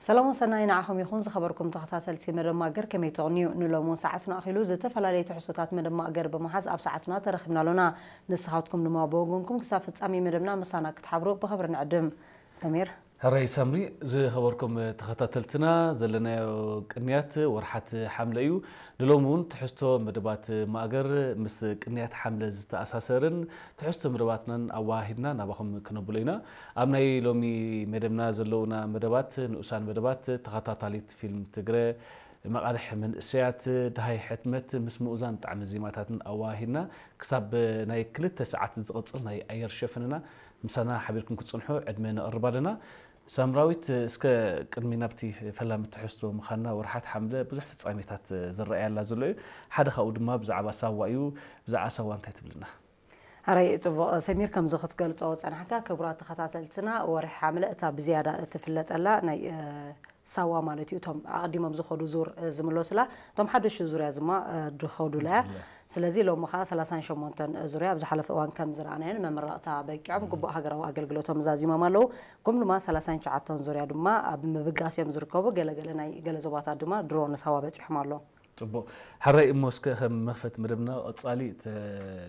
ሰላም ወሰናይ ንዓኹም ይኹን ዝኸበርኩም ተኸታተልቲ መደብ ማእገር፣ ከመይ ትቕንዩ? ንሎሚ እውን ሰዓትና ኣኺሉ ዝተፈላለዩ ትሕዝቶታት መደብ ማእገር ብምሓዝ ኣብ ሰዓትና ተረኺብና ኣሎና። ንስኻትኩም ድማ ብወገንኩም ክሳብ ፍጻሜ መደብና ምሳና ክትሓብሩ ብኽብሪ ንዕድም። ሰሚር። ሕራይ ሳምሪ፣ ዝኸበርኩም ተኸታተልትና፣ ዘለናዮ ቅንያት ወርሓት ሓምለ እዩ። ንሎሚ እውን ትሕዝቶ መደባት ማእገር ምስ ቅንያት ሓምለ ዝተኣሳሰርን ትሕዝቶ መደባትናን ኣወሃሂድና ናባኹም ክነብሎ ኢና። ኣብ ናይ ሎሚ መደብና ዘለውና መደባት፣ ንኡሳን መደባት፣ ተኸታታሊት ፊልም ትግረ፣ መቓልሕ መንእሰያት፣ ደሃይ ሕትመት ምስ ምኡዛን ጣዕሚ ዜማታትን ኣወሃሂድና ክሳብ ናይ ክልተ ሰዓት ዝቕጽል ናይ ኣየር ሸፈንና ምሳና ሓቢርኩም ክትጽንሑ ዕድመ ነቕርብ ኣለና። ሳምራዊት፣ እስከ ቅድሚ ናብቲ ፈላሚ ትሕዝቶ ምዃንና፣ ወርሓት ሓምለ ብዙሕ ፍጻሜታት ዝረኣየላ ዘሎ እዩ። ሓደ ካብኡ ድማ ብዛዕባ ሳዋ እዩ። ብዛዕባ ሳዋ እንታይ ትብልና? ሕራይ ጽቡቕ ሰሚር፣ ከምዚ ክትገልጾ ጸናሕካ፣ ክቡራት ተኸታተልትና፣ ወርሒ ሓምለ እታ ብዝያዳ እትፍለጠላ ናይ፣ እ፣ ሳዋ ማለት እዩ። እቶም ኣቐዲሞም ዝኸዱ ዙር፣ እ፣ ዝምለሱላ፣ እቶም ሓደሽቲ ዙርያ ድማ፣ እ፣ ዝኸዱላ እያ። ዝኸዱላ። ስለዚ ሎሚ ኸኣ ሰላሳን ሸሞንተን ዙርያ ኣብ ዝሓለፈ እዋን ከም ዝረኣናዮን መመረቕታ በቂዖም ግቡእ ሃገራዊ ኣገልግሎቶም ዛዚሞም ኣለዉ። ከም ድማ ሰላሳን ትሽዓተን ዙርያ ድማ ኣብ ምብጋስ እዮም ዝርከቡ። ገለገለ ናይ ገለ ዞባታት ድማ ድሮ ንሳዋ በጺሖም ኣለዉ። ጽቡቕ። ሕራይ እሞ እስከ ከም መኽፈቲ መደብና ቀጻሊ ተ-፣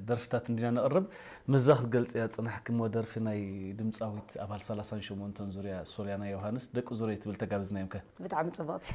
ደርፍታት እንዲና ነቕርብ። ምስዛ ክትገልጽያ ዝጸናሕኪ እሞ ደርፊ ናይ ድምጻዊት ኣባል ሰላሳን ሸሞንተን ዙርያ ሶልያና ዮሃንስ ደቂ ዙረይ ትብል ተጋብዝና እዮም ከ? ብጣዕሚ ጽቡቕቲ።